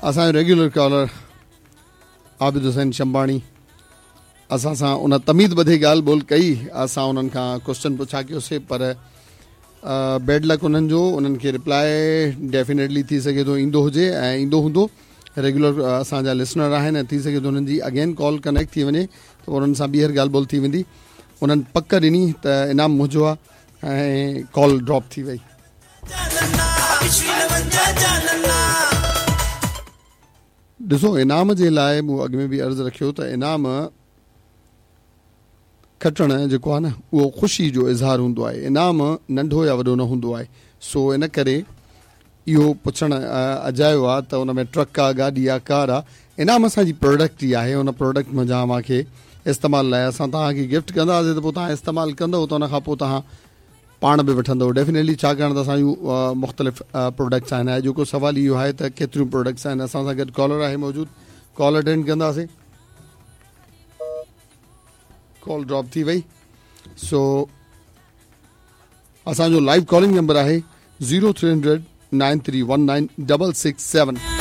اسان جو regular caller Abid Hussain Shanbani اسان سان ان تميد ٻڌي ڳالهه ٻولهه ڪئي اسان انهن کان ڪوشچن پڇا ڪيوسي پر بيڊ لڪ انهن جو انهن کي رپلائي ڊيفينيٽلي ٿي سگهي ٿو ايندو هجي ۽ ايندو هوندو ريگيولر اسان جا لسنر آهن ۽ ٿي سگهي ٿو انهن جي اگين ڪال ڪنيڪٽ ٿي وڃي ته انهن سان ٻيهر ڳالهه ٻولهه ٿي ويندي انهن پڪ ڏني ته انعام منهنجو آهي ۽ ڪال ڊراپ ٿي وئي. ڏسو انعام جي لاء مون اڳ ۾ به عرض رکيو ته انعام کٽڻ جيڪو آهي نه اهو خوشي جو اظهار هوندو آهي انعام ننڍو يا وڏو نه هوندو آهي سو ان ڪري اهو پڇڻ اجايو آهي ته ان ۾ ٽرڪ آ گاڏي آ ڪار آ انعام اسان جي پروڊڪٽ ئي آهي ان پروڊڪٽ منجهان اوهان کي استعمال لاء اسان توهان کي گفٽ ڪنداسين ته پوء توهان استعمال ڪندؤ ته ان کان پوء توهان پاڻ به وٺندؤ ڊيفينيٽلي ڇاڪاڻ ته اسان جون مختلف پروڊڪٽس آهن اڄوڪو سوال اهو آهي ته ڪيتريون پروڊڪٽس آهن اسان سان گڏ ڪالر آهي موجود ڪال اٽينڊ ڪنداسين ڪال ڊراپ ٿي وئي سو اسان جو لائيو ڪالنگ نمبر آهي 0300 9319667.